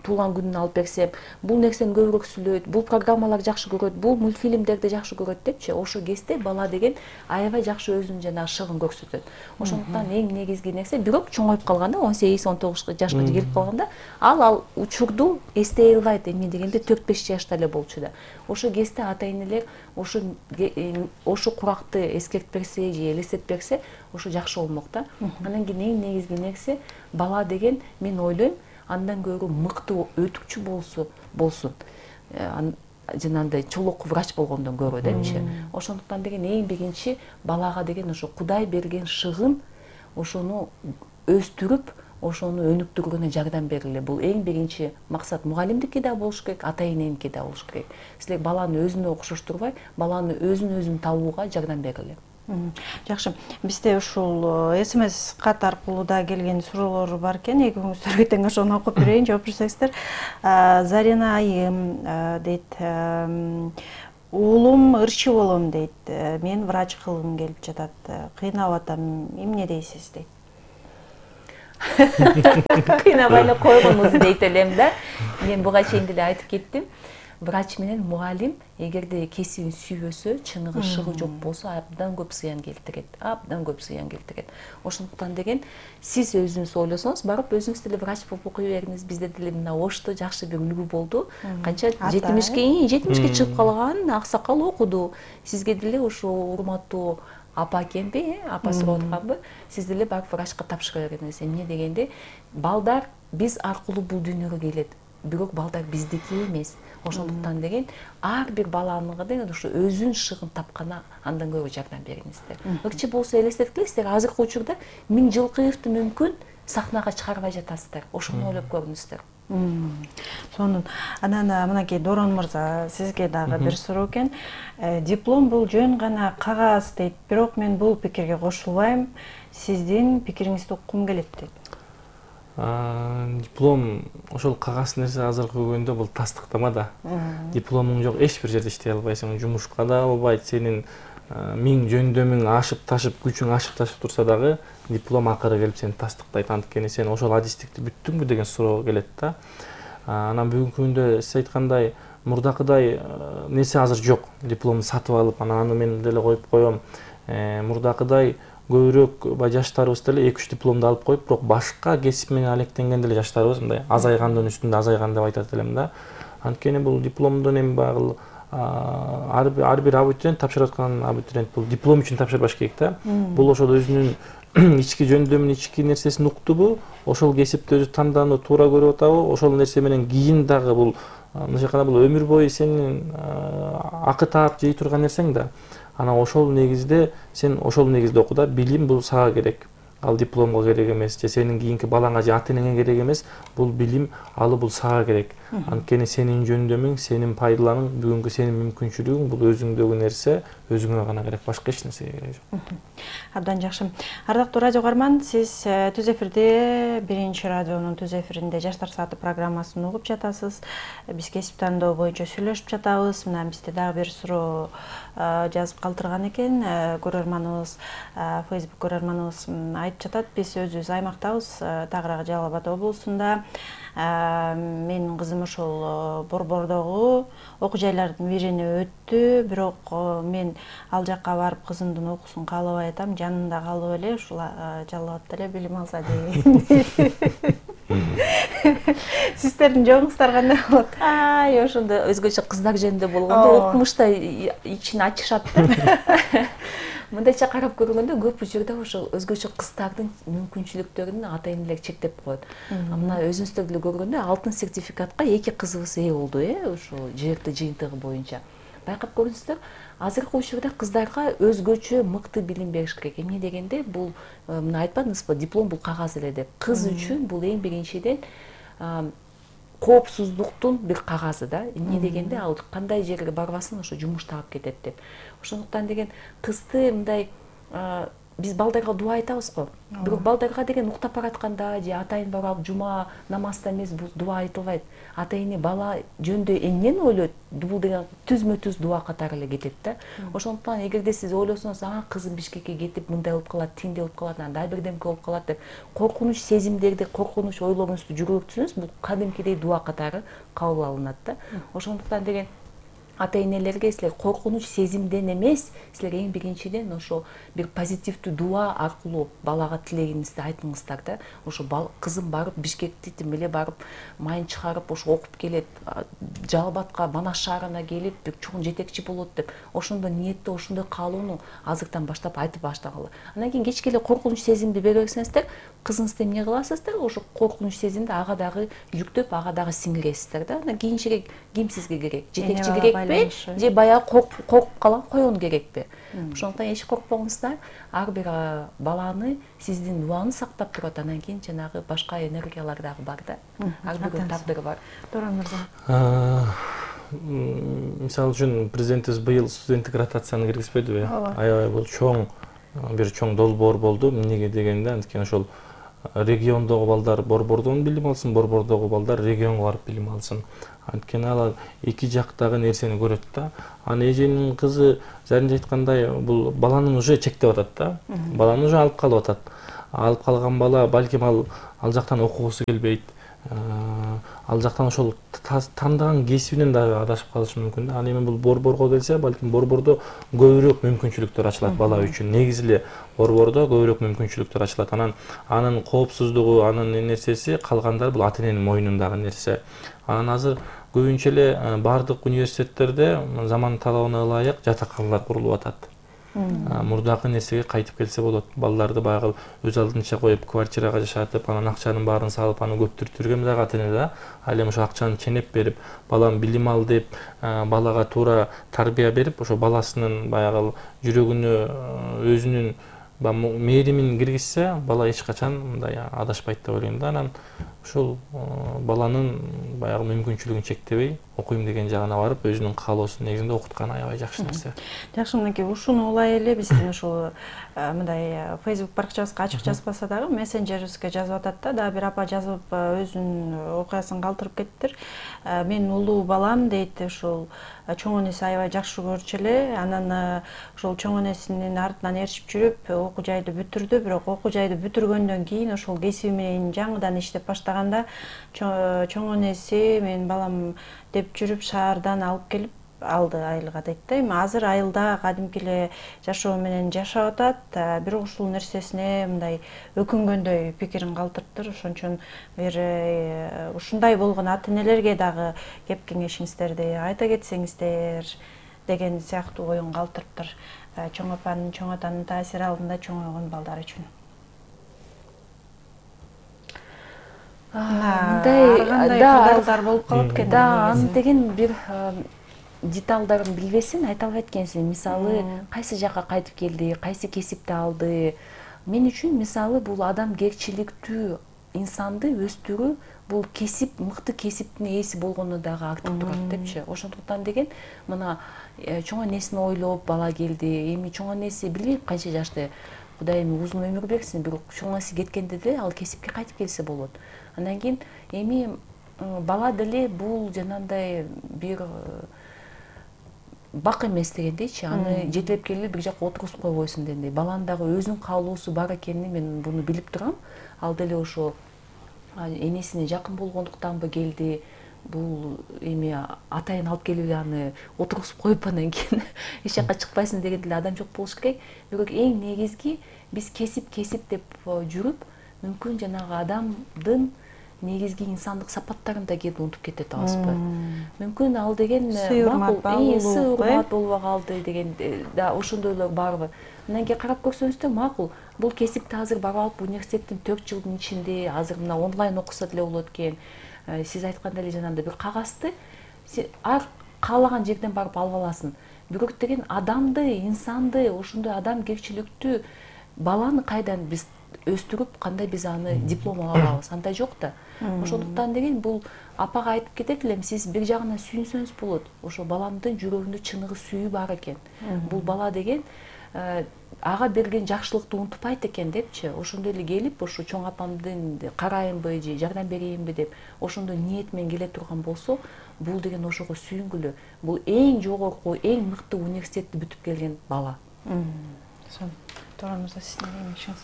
туулган күнүн алып берсем, бул нерсени көбүрөөк сүйлөйт, бул программалар жакшы көрөт, бул мультфильмдерди жакшы көрөт депчи, ошо кезде бала деген аябай жакшы өзүнүн жана шыгын көрсөтөт. Ошондуктан эң негизги нерсе, бирок чоңоюп калганда, 18-19 жашка келип калганда, ал учурду эстей албайт, эмне дегенде 4-5 жашта эле болчу да. Ошо кезде ата-энелер ошо куракты эскертип берсе же элестетип берсе, ошо жакшы болмок да. Анан кийин эң негизги нерсе, бала деген мен ойлойм, андан көрө мыкты өтүкчү болсун. Жанагындай чолок врач болгондон көрө депчи. Ошондуктан деген эң биринчи балага деген ошо Кудай берген шыгын ошону өстүрүп, ошону өнүктүрүүнө жардам бериле. Бул эң биринчи максат. Мугалимдики да болуш керек, ата-эненики да болуш керек. Силер баланы өзүнө окшоштурбай, баланы өзүн табууга жардам бериле. Жакшы. Бизде ушул СМС кат аркылуу да келген суроолор бар экен. Экөөңүздөр тең ошону окуп берейин, жооп берсеңиздер. Зарина айым дейт, уулум ырчы болом дейт. Мен врач кылгым келип жатат. Кыйнап атам. Эмне дейсиз дейт. Кыйнабай эле койгонуңуз дейт элем да. Мен буга чейин деле айтып кеттим. Врач менен мугалим эгерде кесибин сүйбөсө, чыныгы шыгы жок болсо, абдан көп зыян келтирет. Ошондуктан деген сиз өзүңүз ойлосоңуз, барып өзүңүз деле врач болуп окуй бериңиз. Бизде деле мына Ошто жакшы бир үлгү болду. Канча 70ке чыгып калган аксакал окуду. Сизге деле ошо урматтуу апа экенби, апа сурап атканбы, сиз деле барып врачка тапшыра бериңиз. Эмне дегенде, балдар биз аркылуу бул дүйнөгө келет. Бирок балдар биздики эмес. Ошондуктан деген ар бир баланын деген ошо өзүнүн шыгын тапкана андан көрө жардам бериңиздер. Ыкчы болсо элестеткилеңиздер, азыркы учурда Миң Жылкыевди мүмкүн сахнага чыгарбай жатасыздар. Ошону ойлоп көрүңүздөр. Сонун. Анан мынакей Дорон мырза, сизге дагы бир суроо экен. Диплом бул жөн гана кагаз дейт, бирок мен бул пикирге кошулбайм. Сиздин пикириңизди уккум келет дейт. Диплом ошол кагаз нерсе азыркы күндө бул тастыктама да. Дипломуң жок, эч бир жерде иштей албайсың, жумушка да албайт. Сенин миң жөндөмүң ашып-ташып, күчүң ашып-ташып турса дагы диплом акыры келип сени тастыктайт. Анткени сен ошол адистикти бүттүңбү деген суроо келет да. Анан бүгүнкү күндө сиз айткандай мурдакыдай нерсе азыр жок. Дипломду сатып алып, анан аны мен деле коюп коем. Мурдакыдай көбүрөөк жаштарыбыз деле 2-3 дипломду алып коюп, бирок башка кесип менен алектенген деле жаштарыбыз мындай азайгандын үстүндө азайган деп айтат элем да. Анткени бул дипломдун эми багы ар бир абитуриент тапшырып аткан абитуриент бул диплом үчүн тапшырбаш керек да. Бул ошол өзүнүн ички жөндөмүн, ички нерсесин уктубу, ошол кесипти өзү тандоону туура көрүп атабы, ошол нерсе менен кийин дагы бул мындайча айтканда бул өмүр бою сенин акы таап жей турган нерсең да. Анан ошол негизде сен ошол негизде оку да, билим бул сага керек. Ал дипломго керек эмес, же сенин кийинки балаңа же ата-энеңе керек эмес. Бул билим, алы бул сага керек. Анткени сенин жөндөмүң, сенин пайдаланың, бүгүнкү сенин мүмкүнчүлүгүң бул өзүңдөгү нерсе, өзүңө гана керек, башка эч нерсеге кереги жок. Абдан жакшы. Ардактуу радио угарман, сиз түз эфирде, биринчи радионун түз эфиринде Жаштар сааты программасын угуп жатасыз. Биз кесип тандоо боюнча сүйлөшүп жатабыз. Мына бизде дагы бир суроо жазып калтырган экен. Көрөрманыбыз, Facebook көрөрманыбыз айтып жатат. Биз өзүбүз аймактабыз, Тагырак Жалал Абад облусунда. Менин кызым ошол Борбордогу окуу жайлардын бирине өттү, бирок мен ал жакка барып кызымдын окуусун каалабай атам, жанында калып эле ушул Жалал Абадда эле билим алса деген. Сиздердин жогуңуздар кандай болот? Ошондо өзгөчө кыздар жөнүндө болгондо окумушта ичин ачышат да. Мындайча карап көргөндө көп учурда ошо өзгөчө кыздардын мүмкүнчүлүктөрүн ата-энелер чектеп коет. Мына өзүңүздөр деле көргөндө алтын сертификатка 2 кызыбыз ээ болду, ошо жерди жыйынтыгы боюнча. Байкап көрүңүздөр, азыркы учурда кыздарга өзгөчө мыкты билим бериш керек. Эмне дегенде, бул мына айтпадыңызбы, диплом бул кагаз эле деп. Кыз үчүн бул эң биринчиден коопсуздуктун бир кагазы да. Эмне дегенде, ал кандай жерге барбасын ошо жумуш таап кетет деп. Ошондуктан деген кызды мындай биз балдарга дуа айтабыз го. Бирок балдарга деген уктап баратканда же атайын барып жума намазда эмес, бул дуа айтылбайт. Ата-эне бала жөнүндө эмнени ойлойт? Бул деген түзмө-түз дуа катары эле кетет да. Ошондуктан эгерде сиз ойлосоңуз, кызым Бишкекке кетип мындай болуп калат, тиндей болуп калат, андай бирдемке болуп калат деп коркунуч сезимдерди, коркунуч ойлоруңузду жүргүзсөңүз, бул кадимкидей дуа катары кабыл алынат да. Ошондуктан деген ата-энелерге силер коркунуч сезимден эмес, силер эң биринчиден ошо бир позитивдүү дуа аркылуу балага тилегиңизди айтыңыздар да. Ошо кызым барып Бишкекти тим эле барып майын чыгарып ошо окуп келет, Жалал-Абадка, Манас шаарына келип бир чоң жетекчи болот деп ошондой ниетте, ошондой каалоону азыртан баштап айтып баштагыла. Андан кийин кечке эле коркунуч сезимди бере берсеңиздер, кызыңызды эмне кыласыздар? Ошо коркунуч сезимди ага дагы жүктөп, ага дагы сиңиресиздер да. Анан кийинчерээк ким сизге керек? Жетекчи керекпи же баягы коркуп калган коен керекпи? Ошондуктан эч коркпоңуздар. Ар бир баланы сиздин дуаңыз сактап турат. Анан кийин жанагы башка энергиялар дагы бар да. Ар биринин тагдыры бар. Туран мырза. Мисалы үчүн президентибиз быйыл студенттик ротацияны киргизбедиби? Аябай бул чоң долбоор болду. Эмнеге дегенде, анткени ошол региондогу балдар борбордон билим алсын, борбордогу балдар регионго барып билим алсын. Анткени алар эки жактагы нерсени көрөт да. Аны эженин кызы заринде айткандай, бул баланын уже чектеп атат да. Баланы уже алып калып атат. Алып калган бала балким ал жактан окугусу келбейт. Ал жактан ошол тандаган кесибинен дагы адашып калышы мүмкүн да. Ал эми бул борборго келсе, балким борбордо көбүрөөк мүмкүнчүлүктөр ачылат бала үчүн. Негизи эле борбордо көбүрөөк мүмкүнчүлүктөр ачылат. Анын коопсуздугу, анын нерсеси калгандары бул ата-эненин мойнундагы нерсе. Анан азыр көбүнчө эле бардык университеттерде заман талабына ылайык жатаканалар курулуп атат. Мурдакы нерсеге кайтып келсе болот. Балдарды баягы өз алдынча коюп квартирага жашатып, анан акчанын баарын салып, аны көптүртүргөн дагы ата-эне да. Ал эми ошо акчаны ченеп берип, балам билим ал деп, балага туура тарбия берип, ошо баласынын баягы жүрөгүнө өзүнүн мээримин киргизсе, бала эч качан мындай адашпайт деп ойлойм да. Анан ушул баланын баягы мүмкүнчүлүгүн чектебей, окуйм деген жагына барып, өзүнүн каалоосунун негизинде окуткан аябай жакшы нерсе. Жакшы, мынакей ушуну улай эле биздин ушул мындай Facebook баракчабызга ачык жазбаса дагы мессенджерибизге жазып атат да. Дагы бир апа жазып өзүнүн окуясын калтырып кеттир. Менин улуу балам дейт, ушул чоң энеси аябай жакшы көрчү эле. Анан ошол чоң энесинин артынан ээрчип жүрүп, окуу жайды бүтүрдү. Бирок окуу жайды бүтүргөндөн кийин ошол кесиби менен жаңыдан иштеп баштаганда чоң энеси менин балам деп жүрүп шаардан алып келип алды айылга дейт да. Эми азыр айылда кадимки эле жашоо менен жашап атат. Бирок ушул нерсесине мындай өкүнгөндөй пикирин калтырыптыр. Ошон үчүн бир ушундай болгон ата-энелерге дагы кеп кеңешиңиздерди айта кетсеңиздер деген сыяктуу оюн калтырыптыр. Чоң апанын, чоң атанын таасири алдында чоңойгон балдар үчүн. Мындай кырдаалдар болуп калат экен. Да, аны деген бир деталдарын билбесин айта албайт экенсиң. Мисалы, кайсы жакка кайтып келди, кайсы кесипти алды. Мен үчүн мисалы бул адамгерчиликтүү инсанды өстүрүү, бул кесип, мыкты кесиптин ээси болгону дагы артып турат депчи. Ошондуктан деген мына чоң энесин ойлоп бала келди. Эми чоң энеси билбейм канча жашта. Кудай эми узун өмүр берсин, бирок чоң энеси кеткенде деле ал кесипке кайтып келсе болот. Андан кийин эми бала деле бул жанагындай бир бак эмес дегендейчи, аны жетелеп келип бир жакка отургузуп койбойсуң дегендей. Баланын дагы өзүнүн каалоосу бар экенин мен буну билип турам. Ал деле ошо энесине жакын болгондуктанбы келди. Бул эми атайын алып келип аны отургузуп коюп анан кийин эч жакка чыкпайсың деген деле адам жок болуш керек. Бирок эң негизги биз кесип деп жүрүп, мүмкүн жанагы адамдын негизги инсандык сапаттарын да кээде унутуп кетет албызбы? Мүмкүн ал деген макул, урмат болбой калды деген да ошондойлор барбы? Андан кийин карап көрсөңүздөр макул. Бул кесипти азыр барып алып университеттин 4 жылдын ичинде азыр мына онлайн окуса деле болот экен. Сиз айткандай эле жанагындай бир кагазды ар каалаган жерден барып алып аласың. Бирок деген адамды, инсанды, ошондой адамгерчиликтүү баланы кайдан биз өстүрүп, кандай биз аны диплом ала алабыз? Андай жок да. Ошондуктан деген бул апага айтып кетет элем, сиз бир жагынан сүйүнсөңүз болот. Ошо баламдын жүрөгүндө чыныгы сүйүү бар экен. Бул бала деген ага берген жакшылыкты унутпайт экен депчи. Ошондой эле келип, ошо чоң апамдын карайынбы же жардам берейинби деп ошондой ниет менен келе турган болсо, бул деген ошого сүйүнгүлө. Бул эң жогорку, эң мыкты университетти бүтүп келген бала. Туран мырза, сиздин кеңешиңиз?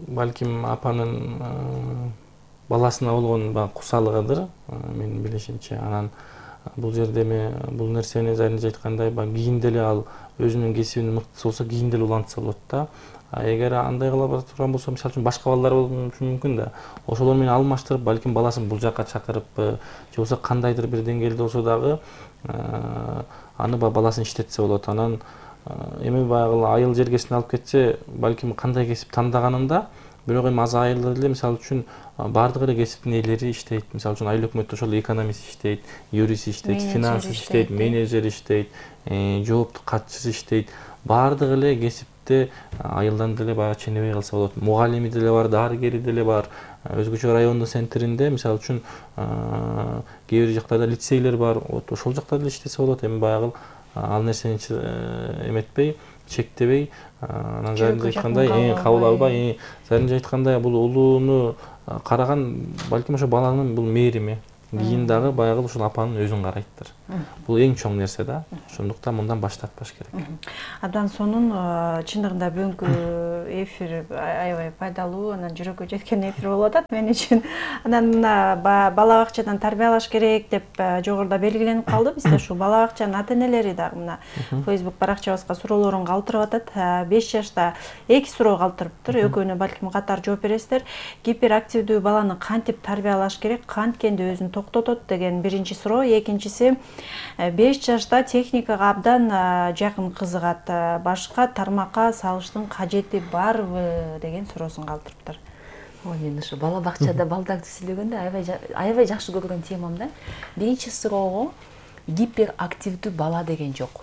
Балким апанын баласына болгон кусалыгыдыр, менин билишимче. Анан бул жерде эми бул нерсени Заринже айткандай баягы кийинде эле ал өзүнүн кесибинин мыктысы болсо кийинде эле улантса болот да. Эгер андай кыла бара турган болсо, мисалы үчүн башка балдар болушу мүмкүн да. Ошолор менен алмаштырып, балким баласын бул жакка чакырыппы, же болбосо кандайдыр бир деңгээлде болсо дагы аны баласын иштетсе болот. Анан эми баягы айыл жергесине алып кетсе, балким кандай кесип тандаганында, бирок эми аз айылдар эле мисалы үчүн баардык эле кесиптин ээлери иштейт. Мисалы үчүн айыл өкмөттө ошол экономист иштейт, юрист иштейт, финанс иштейт, менеджер иштейт, жооптук катчысы иштейт. Баардык эле кесипте айылдан деле баягы ченебей калса болот. Мугалими деле бар, дарыгери деле бар. Өзгөчө райондун центринде мисалы үчүн кээ бир жактарда лицейлер бар. Ошол жакта деле иштесе болот. Эми баягы ал нерсени эметпей, чектебей, анан Заринже айткандай кабыл албай, Заринже айткандай бул улууну караган балким ошо баланын бул мээрими. Кийин дагы баягы ушул апанын өзүн карайттыр. Бул эң чоң нерсе да. Ошондуктан мындан баш тартпаш керек. Абдан сонун, чындыгында бүгүнкү эфир аябай пайдалуу, анан жүрөккө жеткен эфир болуп атат мен үчүн. Анан бала бакчадан тарбиялаш керек деп жогоруда белгиленип калды. Бизде ушул бала бакчанын ата-энелери дагы мына Facebook баракчабызга суроолорун калтырып атат. 5 жашта 2 суроо калтырыптыр. Экөөнө балким катар жооп бересиздер. Гиперактивдүү баланы кантип тарбиялаш керек, канткенде өзүн токтотот деген биринчи суроо. Экинчиси 5 жашта техникага абдан жакын кызыгат. Башка тармакка салыштын кажети барбы деген суроосун калтырыптыр. Мен ушу бала бакчада балдарды сүйлөгөндө аябай жакшы көргөн темам да. Биринчи суроого гиперактивдүү бала деген жок.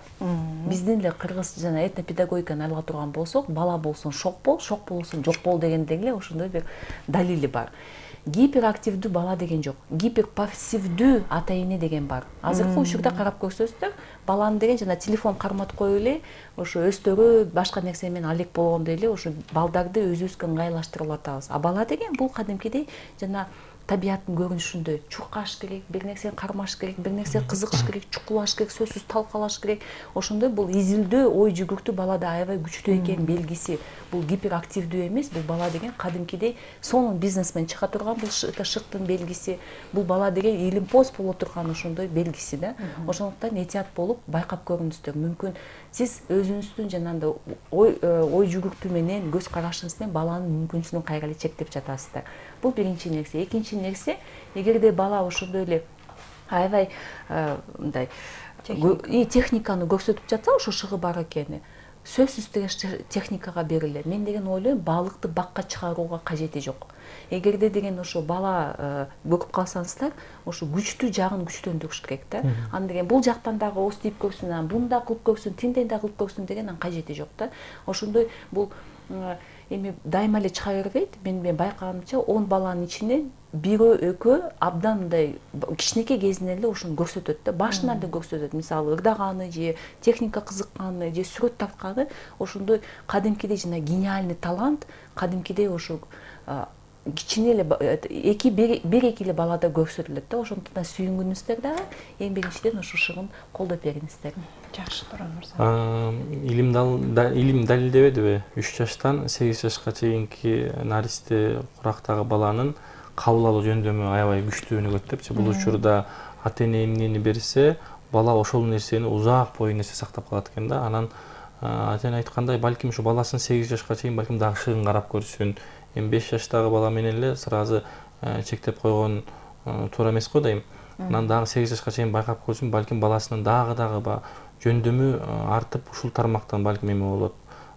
Биздин эле кыргыз жана этнопедагогиканы алга турган болсок, бала болсун шок болсун жок бол дегендей эле ошондой бир далили бар. Гиперактивдүү бала деген жок. Гиперпассивдүү ата-эне деген бар. Азыркы учурда карап көрсөңүздөр, баланы деген жана телефон карматып коюп эле, ошо өстөрү башка нерсе менен алек болгондой эле ошо балдарды өзүбүзгө ыңгайлаштырып атабыз. А бала деген бул кадимкидей жана табияттын көрүнүшүндөй чуркаш керек, бир нерсени кармаш керек, бир нерсени кызыгыш керек, чукулаш керек, сөзсүз талкалаш керек. Ошондой бул изилдөө, ой жүгүртүү балада аябай күчтүү экенин белгиси. Бул гиперактивдүү эмес, бул бала деген кадимкидей сонун бизнесмен чыга турган, бул шыктын белгиси. Бул бала деген илимпоз боло турган ошондой белгиси да. Ошондуктан этият болуп байкап көрүңүздөр. Мүмкүн сиз өзүңүздүн жанагындай ой жүгүртүү менен, көз карашыңыз менен баланын мүмкүнчүлүгүн кайра эле чектеп жатасыздар. Бул биринчи нерсе. Экинчи нерсе, эгерде бала ошондой эле аябай мындай техниканы көрсөтүп жатса, ошо шыгы бар экени, сөзсүз техникага бериле. Мен деген ойлойм, балыкты бакка чыгарууга кажети жок. Эгерде деген ошо бала көрүп калсаңыздар, ошо күчтүү жагын күчтөндүрүш керек да. Аны деген бул жактан дагы ооз тийип көрсүн, бунда кылып көрсүн, тиндей да кылып көрсүн деген кажети жок да. Ошондой бул эми дайыма эле чыга бербейт. Мен байкаганымча 10 баланын ичинен бирөө экөө абдан мындай кичинекей кезинен эле ошону көрсөтөт да. Башынан эле көрсөтөт. Мисалы ырдаганы же техника кызыкканы же сүрөт тартканы ошондой кадимкидей жана гениальный талант, кадимкидей ошо кичине эле бир эки эле балада көрсөтүлөт да. Ошондуктан сүйүнгүнүздөр дагы эң биринчиден ошо шыгын колдоп бериңиздер. Жакшы Туран мырза. Илим далилдебедиби? 3 жаштан 8 жашка чейинки наристе курактагы баланын кабыл алуу жөндөмү аябай күчтүү өнүгөт депчи. Бул учурда ата-эне эмнени берсе, бала ошол нерсени узак бою нерсе сактап калат экен да. Анан ата-эне айткандай, балким ушу баласын 8 жашка чейин балким дагы шыгын карап көрсүн. Эми 5 жаштагы бала менен эле сразу чектеп койгон туура эмес го дейм. Анан дагы 8 жашка чейин байкап көрсүн, балким баласынын дагы жөндөмү артып ушул тармактан балким эме болот.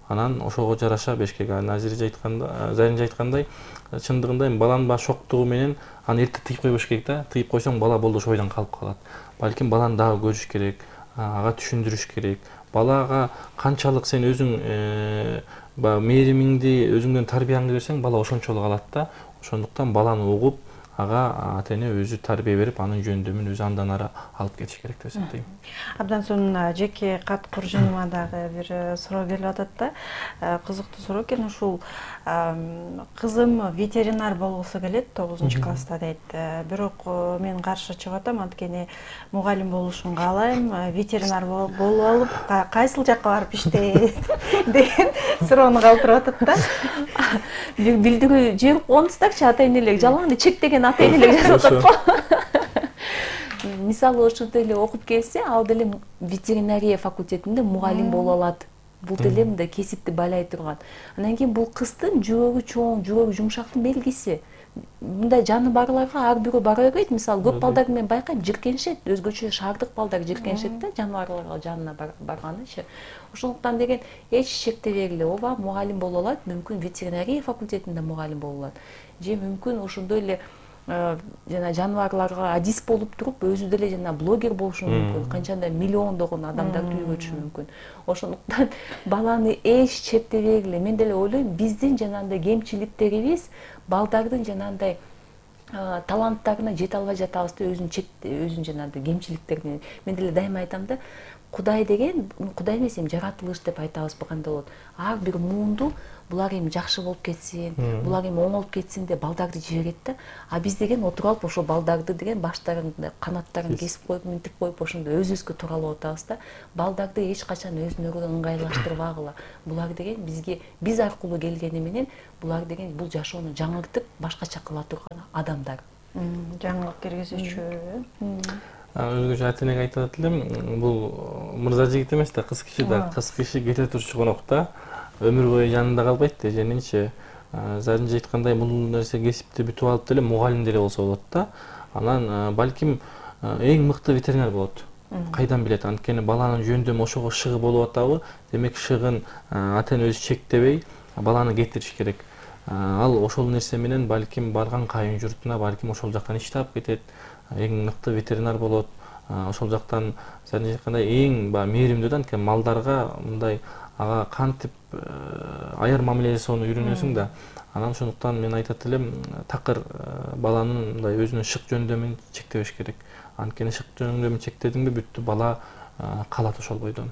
Анан ошого жараша бешкеге Заринже айткандай, чындыгында баланын шоктугу менен аны эрте тыйып койбош керек да. Тыйып койсоң бала болду ошо ойдон калып калат. Балким баланы дагы көрүш керек, ага түшүндүрүш керек. Балага канчалык сен өзүң мээримиңди, өзүңдөн тарбияңды берсең, бала ошончолук алат да. Ошондуктан баланы угуп, ага ата-эне өзү тарбия берип, анын жөндөмүн өзү андан ары алып кетиш керек деп эсептейм. Абдан сонун жеке кат куржуныма дагы бир суроо келип атат да. Кызыктуу суроо экен. Ушул кызым ветеринар болгусу келет 9-класста дейт. Бирок мен каршы чыгып атам, анткени мугалим болушун каалайм, ветеринар болуп алып, кайсыл жакка барып иштейт деген суроону калтырып атат да. Билдирүү жиберип коңуздарчы ата-энелерге, жалаң эле чектеген ата-энелер жазып атат го. мисалы ошондой эле окуп келсе, ал деле ветеринария факультетинде мугалим боло алат. Бул деле мындай кесипти байлай турган. Анан кийин бул кыздын жүрөгү чоң, жүрөгү жумшактын белгиси. Мындай жаны барларга ар бирөө бара бербейт. Мисалы көп балдарды мен байкайм, жиркенишет, өзгөчө шаардык балдар жиркенишет да, жаныбарларга жанына барганычы. Ошондуктан деген эч шектебегиле, ооба мугалим боло алат, мүмкүн ветеринария факультетинде мугалим боло алат. Же мүмкүн ошондой эле жана жаныбарларга адис болуп туруп, өзү деле жана блогер болушу мүмкүн. Канчандай миллиондогон адамдарды үйрөтүшү мүмкүн. Ошондуктан баланы эч чектебегиле. Мен деле ойлойм, биздин жанагындай кемчиликтерибиз балдардын жанагындай таланттарына жете албай жатабыз да, өзүнүн жанагындай кемчиликтерине. Мен деле дайыма айтам да, Кудай деген, Кудай эмес, жаратылыш деп айтабыз кандай болот. Ар бир муунду булар эми жакшы болуп кетсин, булар эми оңолуп кетсин деп балдарды жиберет да. А биз деген отуруп алып ошо балдарды деген баштарын, канаттарын кесип коюп, минтип коюп, ошондо өзүбүзгө тууралап атабыз да. Балдарды эч качан өзүнөрүгө ыңгайлаштырбагыла. Булар деген бизге, биз аркылуу келгени менен, булар деген бул жашоону жаңыртып, башкача кыла турган адамдар. Жаңылык киргизүүчү. Өзгөчө ата-энеге айтып элем, бул мырза жигит эмес да, кыз киши да, кыз киши кете турчу конок да, өмүр бою жанында калбайт да, женинчи. Зарынча айткандай, бул нерсе кесипти бүтүп алып деле мугалим деле болсо болот да. Анан балким эң мыкты ветеринар болот. Кайдан билет, анткени баланын жөндөмү ошого шыгы болуп атабы, демек шыгын ата-эне өзү чектебей баланы кетириш керек. Ал ошол нерсе менен балким барган кайын журтуна балким ошол жактан иш таап кетет, эң мыкты ветеринар болот. Ошол жактан зарынча айткандай эң мээримдүү да, анткени малдарга мындай ага кантип аяр мамиле жасоону үйрөнөсүң да. Анан ошондуктан мен айтат элем, такыр баланын мындай өзүнүн шык жөндөмүн чектебеш керек. Анткени шык жөндөмүн чектедиңби бүттү, бала калат ошол бойдон.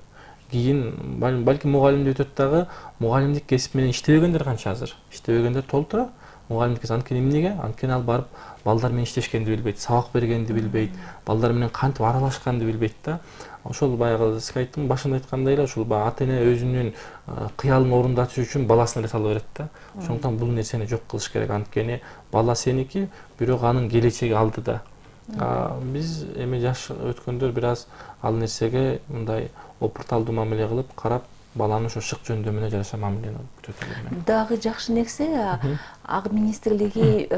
Кийин балким мугалимди өтөт дагы, мугалимдик кесип менен иштебегендер канча азыр? Иштебегендер толтура. Мугалимдик анткени эмнеге? Анткени ал барып балдар менен иштешкенди билбейт, сабак бергенди билбейт, балдар менен кантип аралашканды билбейт да. Ошол баягы сиз айттым, башында айткандай эле, ошол ата-эне өзүнүн кыялын орундатыш үчүн баласын эле сала берет да. Ошондуктан бул нерсени жок кылыш керек. Анткени бала сеники, бирок анын келечеги алдыда. Биз эми жаш өткөндөр бир аз ал нерсеге мындай опурталдуу мамиле кылып, карап, баланын ошо шык жөндөмүнө жараша мамилени күтөт элем. Дагы жакшы нерсе, Ак министрлиги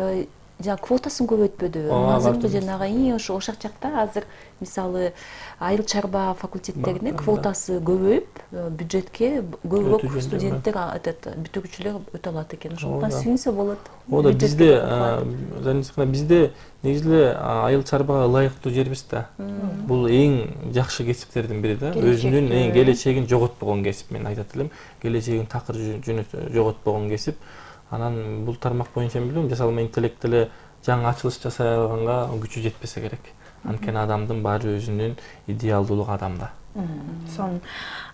квотасын көбөйтпөдү. Азыркы жанагы ошол жакта азыр мисалы айыл чарба факультеттерине квотасы көбөйүп, бюджетке көбүрөөк студенттер, бүтүрүүчүлөр өтө алат экен. Ошондуктан сүйүнсө болот. Оода бизде негизи эле айыл чарбага ылайыктуу жербиз да. Бул эң жакшы кесиптердин бири да. Өзүнүн эң келечегин жоготпогон кесип, мен айтат элем. Келечегин такыр жоготпогон кесип. Анан бул тармак боюнча билбейм, жасалма интеллект эле жаңы ачылыш жасай алганга күчү жетпесе керек. Анткени адамдын баары өзүнүн идеалдуулугу адамда.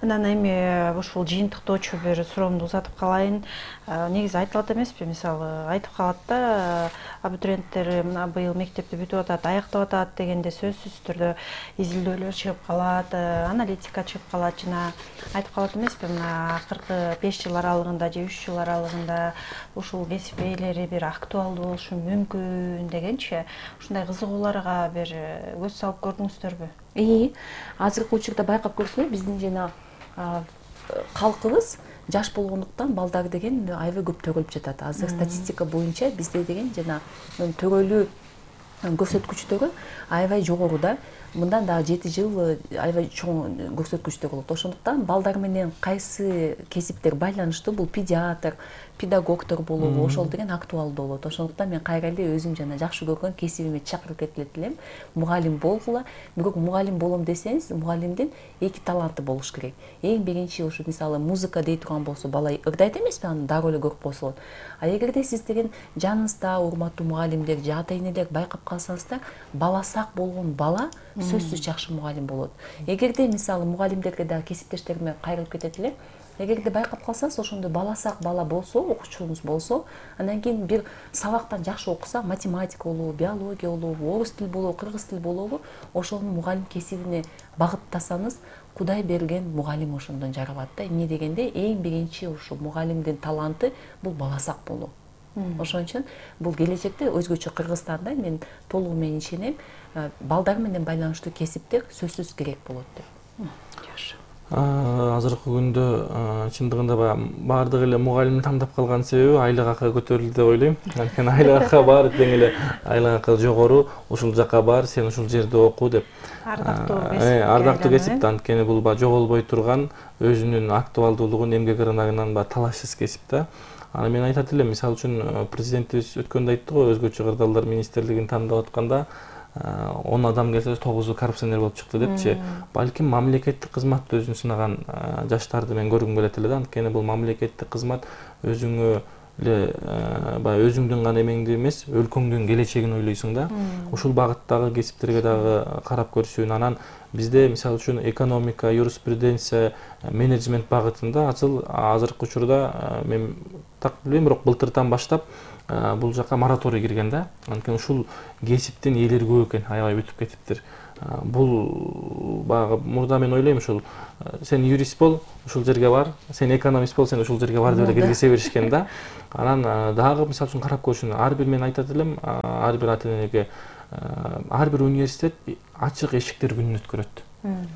Анан эми ушул жыйынтыктоочу бир суроомду узатып калайын. Негизи айтылат эмеспи, мисалы айтып калат да, абитуриенттер мына быйыл мектепти бүтүп атат, аяктап атат дегенде сөзсүз түрдө изилдөөлөр чыгып калат, аналитика чыгып калат, жана айтып калат эмеспи, мына акыркы 5 жыл аралыгында же 3 жыл аралыгында ушул кесип ээлери бир актуалдуу болушу мүмкүн дегенчи, ушундай кызыгууларга бир көз салып көрдүңүздөрбү? Азыркы учурда байкап көрсөңөр, биздин жана калкыбыз жаш болгондуктан балдар деген аябай көп төрөлүп жатат. Азыр статистика боюнча бизде деген жана төрөлүү көрсөткүчтөрү аябай жогору да. Мындан дагы 7 жыл аябай чоң көрсөткүчтөр болот. Ошондуктан балдар менен кайсы кесиптер байланыштуу, бул педиатр, педагогдор болобу, ошол деген актуалдуу болот. Ошондуктан мен кайра эле өзүм жана жакшы көргөн кесибиме чакырып кетип элем. Мугалим болгула. Бирок мугалим болом десеңиз, мугалимдин 2 таланты болуш керек. Эң биринчи ошо мисалы музыка дей турган болсо, бала ырдайт эмеспи, аны дароо эле көрүп койсо болот. А эгерде сиз деген жаныңызда урматтуу мугалимдер же ата-энелер байкап калсаңыздар, бала сак болгон бала сөзсүз жакшы мугалим болот. Эгерде мисалы мугалимдерге да кесиптештериме кайрылып кетет элем. Эгерде байкап калсаңыз, ошондой бала сак бала болсо, окуучуңуз болсо, андан кийин бир сабактан жакшы окуса, математика болобу, биология болобу, орус тил болобу, кыргыз тил болобу, ошонун мугалим кесибине багыттасаңыз, Кудай берген мугалим ошондон жаралат да. Эмне дегенде, эң биринчи ушу мугалимдин таланты бул бала сак болуу. Ошон үчүн бул келечекте өзгөчө Кыргызстанда мен толугу менен ишенем, балдар менен байланыштуу кесиптер сөзсүз керек болот деп. Азыркы күндө чындыгында баардык эле мугалим тандап калган себеби айлык акы көтөрүлдү деп ойлойм. Анткени айлык акы бар, тең эле айлык акы жогору, ушул жака бар, сен ушул жерде оку деп. Ардактуу кесип да, анткени бул жоголбой турган, өзүнүн актуалдуулугун, эмгек рыногунан талашсыз кесип да. Аны мен айтат элем, мисалы үчүн президентибиз өткөндө айтты го, өзгөчө кырдаалдар министрлигин тандап атканда 10 адам келсе 9-у коррупционер болуп чыкты депчи. Балким мамлекеттик кызматты өзүн сынаган жаштарды мен көргүм келет эле да. Анткени бул мамлекеттик кызмат өзүңө эле өзүңдүн гана эмеңди эмес, өлкөңдүн келечегин ойлойсуң да. Ушул багыттагы кесиптерге дагы карап көрсүн. Анан бизде мисалы үчүн экономика, юриспруденция, менеджмент багытында азыркы учурда мен так билбейм, бирок былтыртан баштап бул жака мораторий кирген да. Анткени ушул кесиптин ээлери көп экен, аябай бүтүп кетиптир. Бул мурда мен ойлойм, ушул сен юрист бол, ушул жерге бар, сен экономист бол, сен ушул жерге бар деп эле киргизе беришкен да. Анан дагы мисалы үчүн карап көрсүн. Ар бир мен айтат элем, ар бир ата-энеге ар бир университет ачык эшиктер күнүн өткөрөт.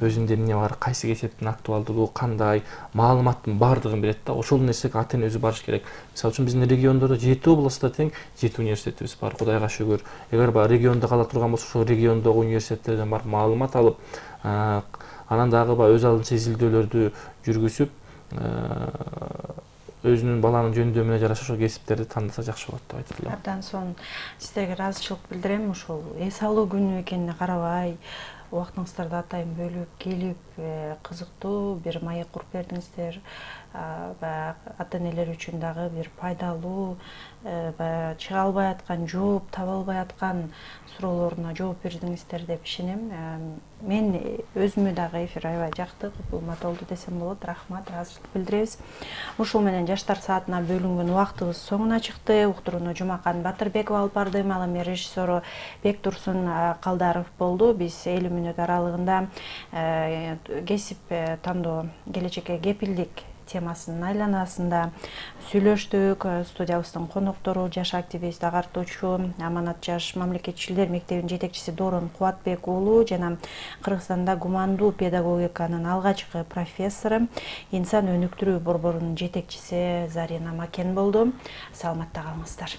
Өзүндө эмне бар, кайсы кесиптин актуалдуулугу кандай, маалыматтын баардыгын берет да. Ошол нерсеге ата-эне өзү барыш керек. Мисалы үчүн биздин региондордо 7 областта тең 7 университетибиз бар, Кудайга шүгүр. Эгер региондо кала турган болсо, ошол региондогу университеттерден барып маалымат алып, анан дагы өз алдынча изилдөөлөрдү жүргүзүп, өзүнүн баланын жөндөмүнө жараша ошол кесиптерди тандаса жакшы болот деп айтат элем. Абдан сонун сиздерге ыраазычылык билдирем. Ушул эс алуу күнү экенине карабай, убактыңыздарды атайын бөлүп келип, кызыктуу бир маек куруп бердиңиздер. Ата-энелер үчүн дагы бир пайдалуу, чыга албай аткан, жооп таба албай аткан суроолоруна жооп бердиңиздер деп ишенем. Мен өзүмө дагы эфир аябай жакты, кулмат болду десем болот. Рахмат, ыраазычылык билдиребиз. Ушул менен жаштар саатына бөлүнгөн убактыбыз соңуна чыкты. Уктурууну Жумакан Батырбекова алып бардым. Ал эми режиссеру Бектурсун Калдаров болду. Биз 50 мүнөт аралыгында кесип тандоо, келечекке кепилдик темасынын айланасында сүйлөштүк. Студиябыздын коноктору жаш активист, агартуучу, Аманат жаш мамлекетчилер мектебинин жетекчиси Дорун Кубатбек уулу жана Кыргызстанда гумандуу педагогиканын алгачкы профессору, инсан өнүктүрүү борборунун жетекчиси Зарина Макен болду. Саламатта калыңыздар.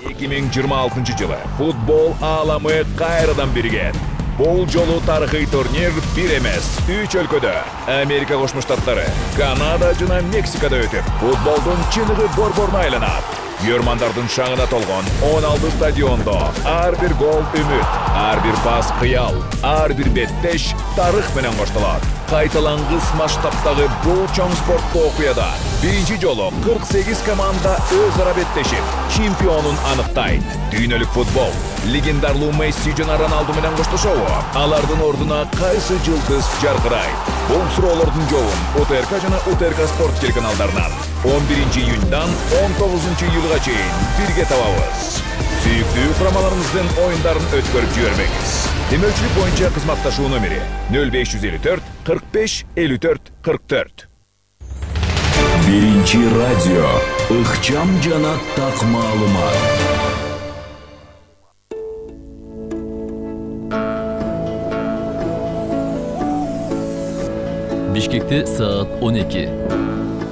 2026 жылы футбол ааламы кайрадан бирген. Бул жолу тарыхый турнир бир эмес, 3 өлкөдө, Америка Кошмо Штаттары, Канада жана Мексикада өтүп, футболдун чыныгы борборуна айланат. Көрмандардын шаңына толгон 16 стадиондо ар бир гол үмүт, ар бир пас кыял, ар бир беттеш тарых менен коштолот. Кайталангыс масштабтагы бул чоң спорттуу окуяда биринчи жолу 48 команда өз ара беттешип, чемпионун аныктайт. Дүйнөлүк футбол легендарлуу Месси жана Роналду менен коштошобу? Алардын ордуна кайсы жылдыз жаркырайт? Бул суроолордун жообун УТРК жана УТРК спорт телеканалдарынан 11 июньдан 19 июлга чейин бирге табабыз. Сүйүктүү курамаларыбыздын оюндарын өткөрүп жибербеңиз. Демөчүлүк боюнча кызматташуу номери 0554 45 54 44. Биринчи радио, ыкчам жана так маалымат. Бишкекте саат 12.